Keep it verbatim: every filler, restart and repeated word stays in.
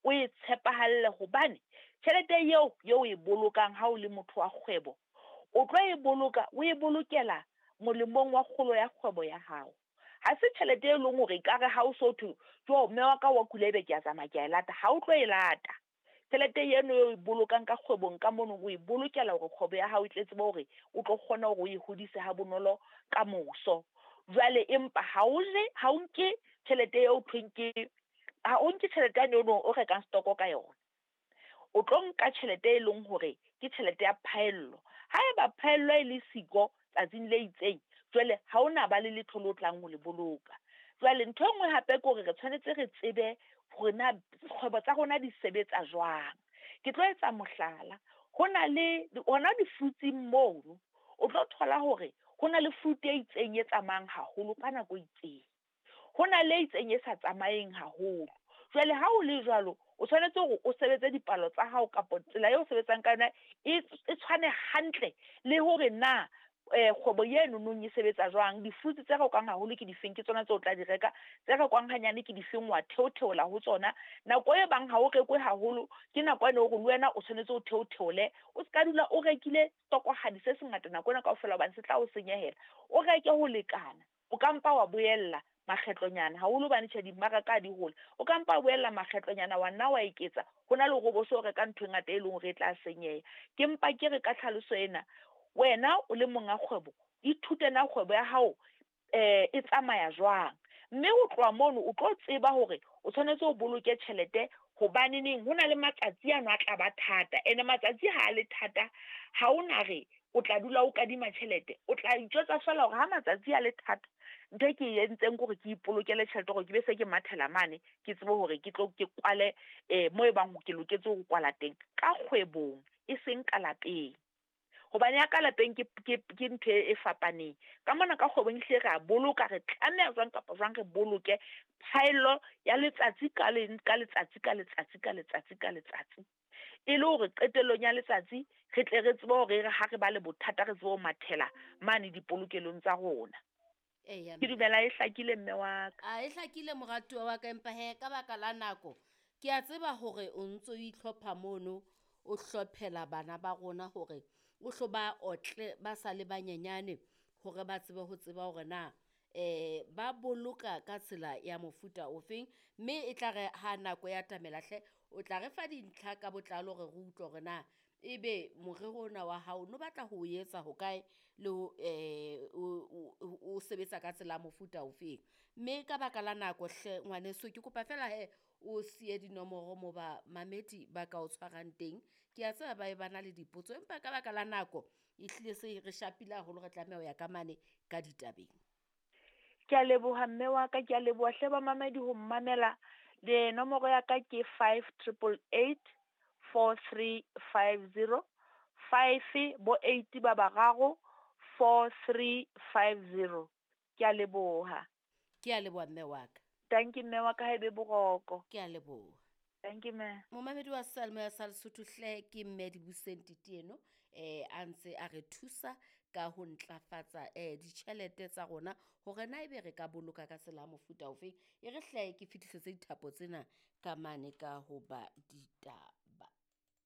O e tshepahalle hobane tjhelete eo eo o e bolokang ha o le motho wa kgwebo, o tlo e boloka, o e bolokela molemong wa kgolo ya kgwebo ya hao. Ha se tjhelete e leng hore ekare ha o so thwe, jo mme wa ka wa kula ebe ke a tsamaya ke a e lata, ha o tlo e lata. Tjhelete eno eo e bolokang ka kgwebong ka mono, o e bolokela hore kgwebo ya hao e tle tsebe hore o tlo kgona hore o e hodise ha bonolo ka moso. Jwale empa ha o je, ha o nke tjhelete eo thweng ke, ha o nke tjhelete yane eno o rekang stoko ka yona. O tlo nka tjhelete e leng hore ke tjhelete ya phaello. Haeba phaello e le siko tsatsing le itseng, jwale ha ona ba le letho le o tlang ho le boloka. Jwale ntho e nngwe hape ke hore re tshwanetse re tsebe hore na kgwebo tsa rona di sebetsa jwang. Ke tlo etsa mohlala, ho na le hona di-fruits-ing mono, o tlo thola hore ho na le fruit e itseng e tsamayang haholo ka nako e itseng. Ho na le e itseng e sa tsamayeng haholo. Jwale ha o le jwalo, o tshwanetse hore o sebetse dipalo tsa hao kapa tsela eo o sebetsang ka yona e e tshwane hantle le hore na eh kgwebo eno nong e sebetsa jwang. Di-fruits tse rekwang haholo ke difeng, ke tsona tseo o tla di reka, tse rekwang hanyane ke difeng, wa theotheola ho tsona. Nako e bang ha o rekwe haholo ke nako ene hore le wena o tshwanetse o theotheole, o ska dula o rekile stokohadi se sengata nako ena kaofela hobane se tla o senyehela. O reke ho lekana, o ka mpa wa boella makgetlonyana haholo hobane tjhe dimmaraka ha di hole. O ka mpa wa boella makgetlonyana wa nna wa eketsa, ho na le hore o bo so reka ntho e ngata e leng hore e tla senyeha. Ke mpa ke re ka tlhaloso ena, wena o le monga kgwebo, ithute na kgwebo ya hao eh e tsamaya jwang. Mme ho tloha mono o tlo tseba hore o tshwanetse o boloke tjhelete hobaneneng ho na le matsatsi ano a tla ba thata. Ene matsatsi ha a le thata, ha o na re o tla dula o kadima tjhelete, o tla itjwetsa feela hore ha matsatsi a le thata, ntho e ke e entseng ke hore ke ipolokele tjhelete hore ke be se ke mathela mane, ke tsebe hore ke tlo ke kwale eh mo ebang ke loketse ho kwala teng ka kgwebong, e seng ka lapeng. Hobane ya ka lapeng ke ke ke ntho e fapaneng. Ka mona ka kgwebong ehlile re a boloka, re tlameha jwang kapa jwang re boloke phaello ya letsatsi ka leng, ka letsatsi ka letsatsi ka letsatsi ka letsatsi. E le hore qetellong ya letsatsi re tle re tsebe hore re ha re ba le bothata re tsebe ho mathela mane dipolokelong tsa rona. Eya, Ke dumela e hlakile mme wa ka. A e hlakile moratuwa wa ka, empa he ka baka la nako ke a tseba hore o ntso o itlhopha mono, o hlophela bana ba rona hore o hlo ba otle ba sa le banyenyane hore ba tsebe ho tseba hore na eh ba boloka ka tsela ya mofuta ofeng. Mme e tla re ha nako ya tamela hle, o tla re fa dintlha ka botlalo hore re utlwe hore na ebe morero ona wa hao no batla ho o etsa hokae le ho eh o o sebetsa ka tsela ya mofuta ofeng. Mme ka baka la nako hle ngwaneso, ke kopa fela he o siye dinomoro mo ba mamedi ba ka o tshwarang teng. Ke a tseba ba e ba na le dipotso, empa ka baka la nako ehlile se re shapile haholo, re tlameha ho ya ka mane ka ditabeng. Ke a leboha mme wa ka, ke a leboha hle bamamedi ho mmamela. Le nomoro ya ka ke five triple eight four three five zero, five bo eight ba bararo, four three five zero. Ke a leboha. Ke a leboha mme wa ka. Thank you mme wa ka, ha ebe boroko. Ke a leboha. Thank you mme. Momamedi wa Seyalemoya sa Lesotho hle ke mme Dibuseng Titieno eh a ntse a re thusa ka ho ntlafatsa eh ditjhelete tsa rona hore na ebe re ka boloka ka tsela ya mofuta ofeng. E re hle ke fetisetse dithapo tsena ka mane ka ho ba ditaba.